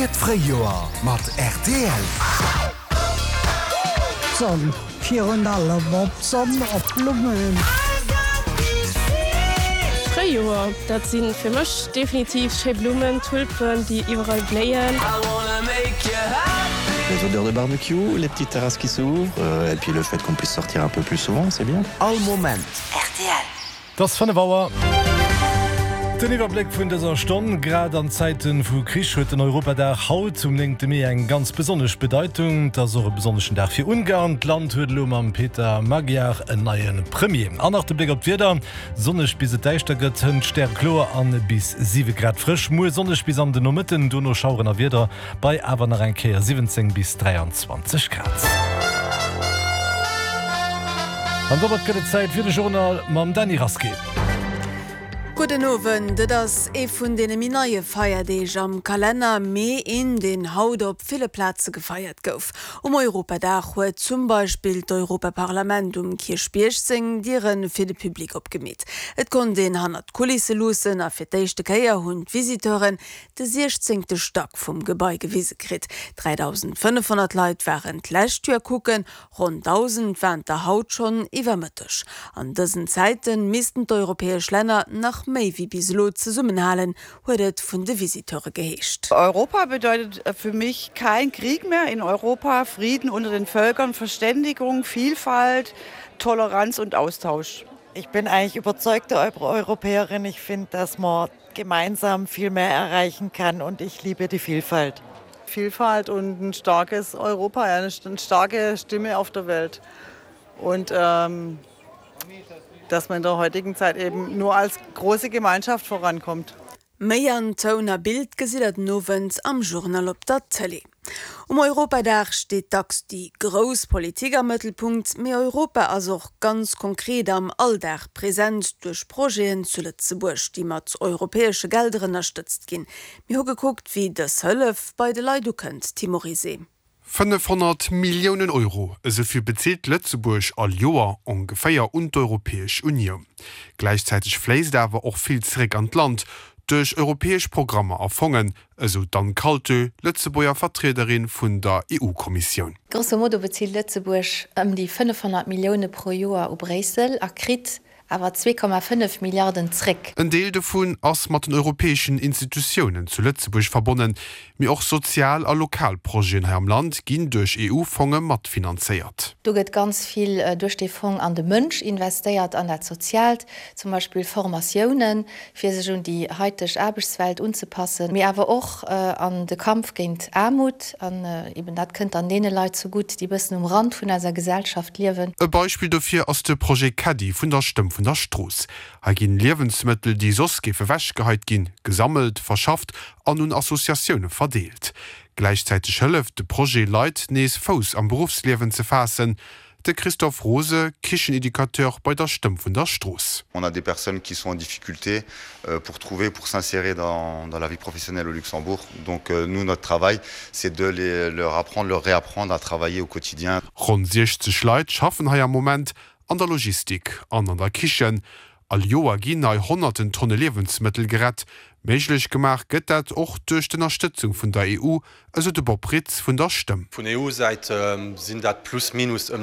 Feiert d'Fréijoer mat rtl! D'Sonn, virun allem op d'Sonn, op d'Blummen. D'Fréijoer, dat si fir mech definitiv schéi Blummen, Tulpen, déi iwwerall bléien. Les odeurs de barbecue, les petites terrasses qui s'ouvrent et puis le fait qu'on puisse sortir un peu plus souvent, c'est bien. All Moment. Rtl. Et ass 5 Auer. Den Iwwerbléck vun dëser Stonn, Grad an Zäite vu Krich huet den Europadag haut um 9 Mee eng ganz besonnesch Bedeitung. Et ass och e besonneschen Dag fir Ungarn. D'Land huet elo mam Peter Magyar en neie Premier. An nach de Bléck op d'Wieder, Sonneg bis et däischter gëtt, hënt stärekloer an bis 7 Grad frësch. Muer sonneg bis an den Nomëtten, dono Schaueren a Wieder bei awer nach eng Kéier 17 bis 23 Grad. An domat gëtt et Zäit fir de Journal mam Dany Rasqué. Gudden Owend. Et ass ee vun deene méi neie Feierdeeg am Kalenner, mee een, deen haut op ville Plaze gefeiert gouf. Um Europadag huet zum Beispill d'Europaparlament um Kierchbierg seng Diere fir de Public opgemeet. Et konnt een hannert d'Kulisse luussen a fir d'éischte Kéier hunn d'Visiteuren de siechzéngte Stack vum Gebai gewise kritt. 3.500 Leit waren d'lescht Joer kucken, Ronn 1.000 waren der haut schonn iwwer Mëtteg. An dësen Zäite missten d'europäesch Länner nach méi wéi bis elo zesummenhalen, huet et vun de Visiteure geheescht. Europa bedeutet für mich kein Krieg mehr in Europa, Frieden unter den Völkern, Verständigung, Vielfalt, Toleranz und Austausch. Ich bin eigentlich überzeugte Europäerin. Ich finde, dass man gemeinsam viel mehr erreichen kann und ich liebe die Vielfalt. Vielfalt und ein starkes Europa, eine starke Stimme auf der Welt. Und ähm, dass man in der heutigen Zeit eben nur als große Gemeinschaft vorankommt. Méi an Toun a Bild gesitt der den Owend am Journal op der Tëlee. Um Europadag steet dacks déi grouss Politik am Mëttelpunkt, mee Europa ass och ganz konkret am Alldag present duerch Projeten zu Lëtzebuerg, déi mat europäesche Gelder ënnerstëtzt ginn. Mir hu gekuckt, wéi dës Hëllef bei de Leit ukënnt. Tim Morizet. 500 Milliounen Euro, esou vill bezilt Lëtzebuerg all Joer ongeféier un d'Europäesch Unioun. Gläichzäiteg fléisst awer och vill zeréck an d'Land, duerch europäesch Programmer a Fongen, esou d'Anne Kaltö, Lëtzebuerger Vertriederin vun der EU-Kommissioun. Grosso modo bezilt Lëtzebuerg ëm déi 500 Millioune pro Joer u Bréissel a kritt awer 2,5 Milliarden zréck. En Deel dovun ass mat den europäeschen Institutiounen zu Lëtzebuerg verbonnen, mee och sozial a lokal Projeten hei am Land ginn duerch EU-Fonge matfinanzéiert. Do gëtt ganz vill duerch dee Fong an de Mënsch investéiert, an dat Soziaalt, zum Beispill Formatiounen, fir sech un déi haiteg Aarbechtswelt unzepassen, mee awer och an de Kampf géint Aarmut. An eben dat kënnt dann deene Leit zegutt, déi bëssen um Rand vun eiser Gesellschaft liewen. E Beispill dofir ass de Projet Caddie vun der Stëmm vun der Strooss. Hei ginn Liewensmëttel, déi soss géife wechgeheit ginn, gesammelt, verschafft an un Associatioune verdeelt. Gläichzäiteg hëlleft de Projet Leit, nees Fouss am Beruffsliewen ze faassen. De Christophe Rose, Kicheneducateur bei der Stëmm vun der Strooss. On a des personnes qui sont en difficulté pour trouver, pour s'insérer dans dans la vie professionnelle au Luxembourg. Donc nous, notre travail, c'est de les leur apprendre, leur réapprendre à travailler au quotidien. Ronn 60 Leit schaffen hei am Moment an der Logistik an an der Kichen. All Joer ginn hei honnerten Tonne Liewensmëttel gerett. Méiglech gemaach gëtt dat och duerch d'Ënnerstëtzung vun der EU, esou de Bob Ritz vun der Stëmm. Vun EU-Säit sinn dat plus minus ëm.